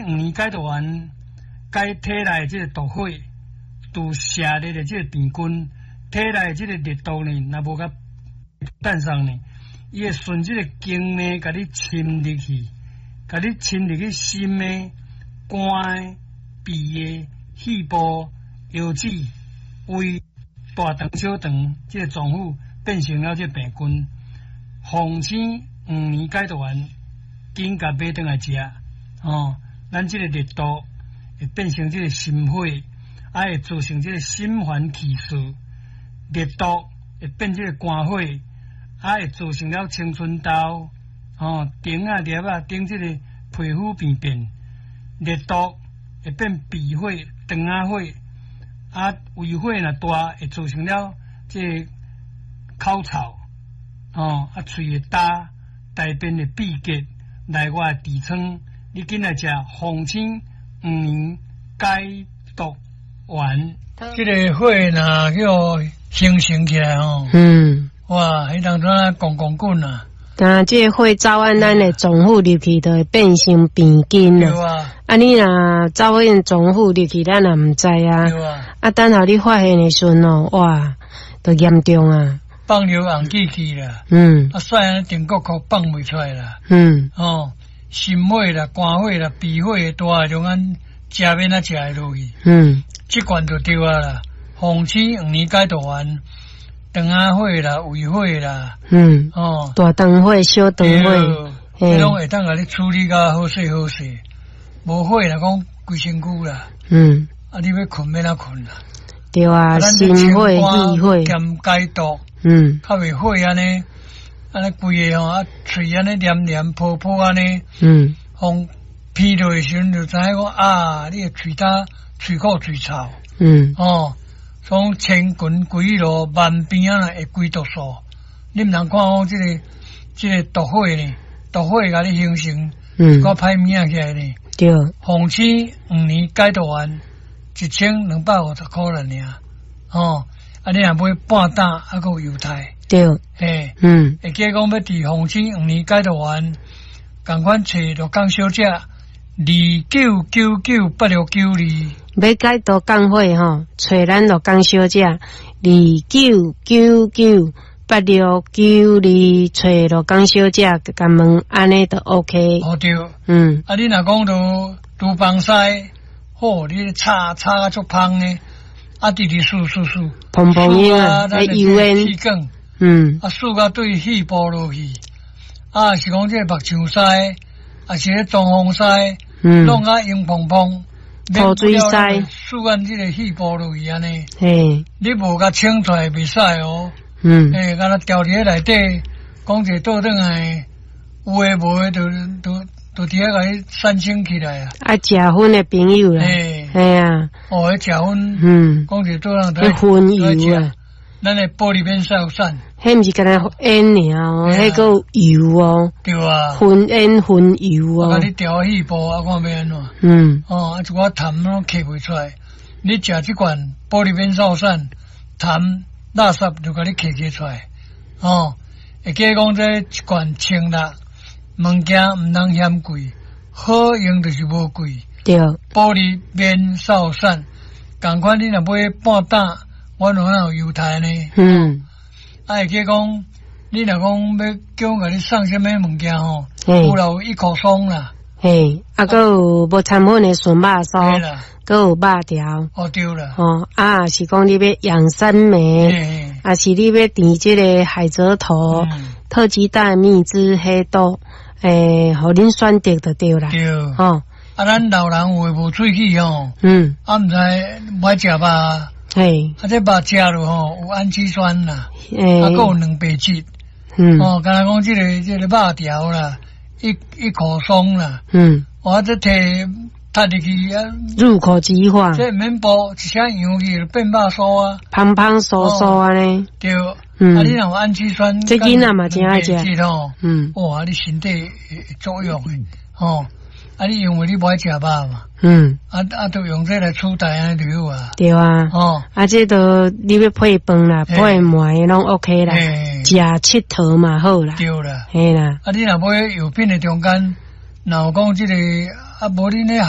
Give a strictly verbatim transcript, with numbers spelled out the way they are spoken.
黃連解毒丸，解體內這個毒火，除邪熱的這個病菌，體內這個熱毒呢，若無共散送呢，伊會順這個經脈共你侵入去，共你侵入去心的、肝的、脾的、肺部、腰子、胃、大腸、小腸這個臟腑變成了這個病菌。鳳仙黃連解毒丸，緊共買轉來食，哦，咱這個熱毒會變成這個心火，啊會造成這個心煩氣躁，熱毒會變這個肝火，啊會造成了青春痘，哦，腸仔粒仔頂這個皮膚病變，熱毒會變脾火、腸仔火，啊胃火若大會造成了這個口臭，哦，啊喙會焦，大便會秘結，內外痔瘡，你緊來食鳳仙黃連解毒丸。這個火若叫形成起來吼，嗯，哇，彼當陣滾滾滾啊！但這個火走按咱的臟腑入去，就會變成病菌對啊。啊，你若走按臟腑入去，咱也毋知啊。對啊。啊，等予你發現的時陣哦，哇，就嚴重啊！放尿紅氣氣啦，嗯，啊，屎按呢定國殼放袂出來啦，嗯，哦，心火啦、肝火啦、脾火大，種按食免啊食會落去，嗯，這罐就對啊啦。鳳仙黃連解毒丸，腸仔火啦、胃火啦，嗯，哦，大腸火、小腸火，彼攏會當共你處理甲好勢好勢。無火若講規身軀啦，嗯，啊，你欲睏欲按怎睏啦？對啊，心火、肺火兼解毒，嗯，較袂火按呢，按呢規个吼啊，喙按呢黏黏泡泡按呢，嗯，風鼻落的時陣就知影講啊，你的喙焦、喙苦、喙臭，嗯，哦，從千群規路萬邊仔會歸毒素，你毋通看講這個這個毒火呢，毒火共你形成，嗯，閣歹物仔起來呢。對，鳳仙黃連解毒丸一千兩百五十箍爾爾，哦，啊，你若買半擔，啊，閣有優待，對，嘿，嗯，會記講欲佇鳳仙黃連解毒丸，仝款揣鹿港小姐二九九九八六九二，欲解毒降火吼，揣咱鹿港小姐二九九九八六九二，揣鹿港小姐，共問按呢就 OK。哦對，嗯，啊，你若講到廚房師，好，你炒炒甲足芳的，啊，直直欶欶欶，蓬蓬煙啊，咱油煙，氣管，嗯，啊，欶甲對肺部落去，啊，是講這個木匠師，啊是咧裝潢師，嗯，弄甲煙蓬蓬，土水師，欶按這個肺部落去按呢，嘿，你無共清出來袂使哦，嗯，欸，敢若牢佇咧內底，講一個倒轉來，有的無的，就就就佇遐共你產生起來啊！愛食薰的朋友啦，嘿，嘿啊，哦，彼食薰，嗯，講一個倒轉彼薰油啊，咱的玻璃免掃散，彼毋是干焦煙爾哦，彼閣有油哦，對啊，薰煙薰油哦，啊，你牢肺部啊，看欲按怎？嗯，哦，啊，一寡痰攏咳袂出來，你食這罐玻璃免掃散，痰垃圾就共你咳咳出來，哦，會記講這一罐千六，物件毋通嫌貴，好用就是無貴。對，玻璃免掃散，仝款你若買半擔，阮有哪有優待呢？嗯，啊，會記講，你若講欲叫阮共你送啥物物件吼，有啦，有一口霜啦，嘿，啊，閣有無摻粉的純肉酥，閣有肉條，哦對啦，哦，啊，是講你欲養生莓，啊是你欲甜這個海蜇頭，特級大蜜汁黑豆，欸，予恁選擇就對啦，對，吼，啊，咱老人有的無喙齒吼，嗯，啊，毋知無愛食肉，嘿，啊，這肉食落吼有氨基酸啦，欸，啊，閣有蛋白質，嗯，哦，敢若講這個這個肉條啦，一一口鬆啦，嗯，我這提踢入去啊，入口即化，這毋免補，一聲揚去就變肉酥啊，芳芳酥酥按呢，對，嗯，啊，你若有氨基酸，這囡仔嘛真愛食，嗯，哇，你身體會作用的，吼，啊，你因為你無愛食肉嘛，嗯，啊啊，就用這來取代按呢就好啊，對啊，哦，啊，這都你欲配飯啦，配糜攏 OK 啦，食𨑨迌嘛好啦，對啦，嘿啦，啊，你若買藥品的中間，若有講這個啊，無恁咧海。